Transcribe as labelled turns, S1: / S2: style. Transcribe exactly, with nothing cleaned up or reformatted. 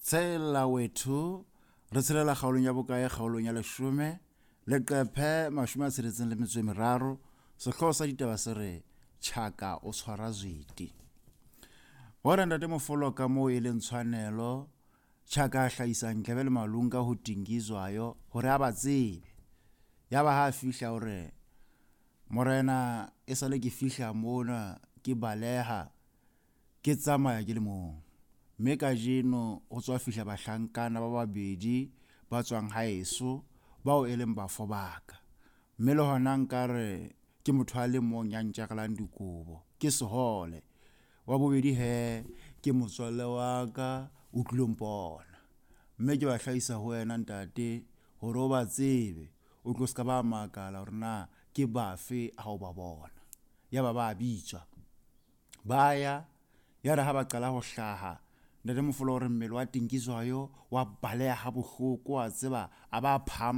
S1: Tshela wethu, re tshelela kgaolong ya bokae? Kgaolong ya leshome, leqephe mashome a tsheletseng le metso e meraro. Sehlooho sa ditaba se re Tjhaka o tshwara zwete. Hore ntate Mofolo ka moo e leng tshwanelo, Tjhaka a hlahisa Ntlebe le Malunga ho Tingizwayo hore a ba tsebe. Yaba ha a fihla o re, Morena, e sale ke fihla mona ke baleha ke tsamaya ke le mong. Mme kajeno ho tswa fihla bahlankana ba babedi ba tswang haeso bao e leng bafo ba ka. Mme le hona nkare ke motho a le mong ya ntjarelang dikobo, ke sehole. Wa bobedi he ke motswalle wa ka o tlilo mpona. Mme ke ba hlahisa ho wena ntate hore o ba tsebe, o tlo ska ba makala hore na ke bafe ha o ba bona. Yaba ba bitswa, ba ya. Ya re ha ba qala ho hlaha, ntate Mofolo o re mmele wa Tingizwayo wa baleha ha bohloko, wa tseba, a ba phahama.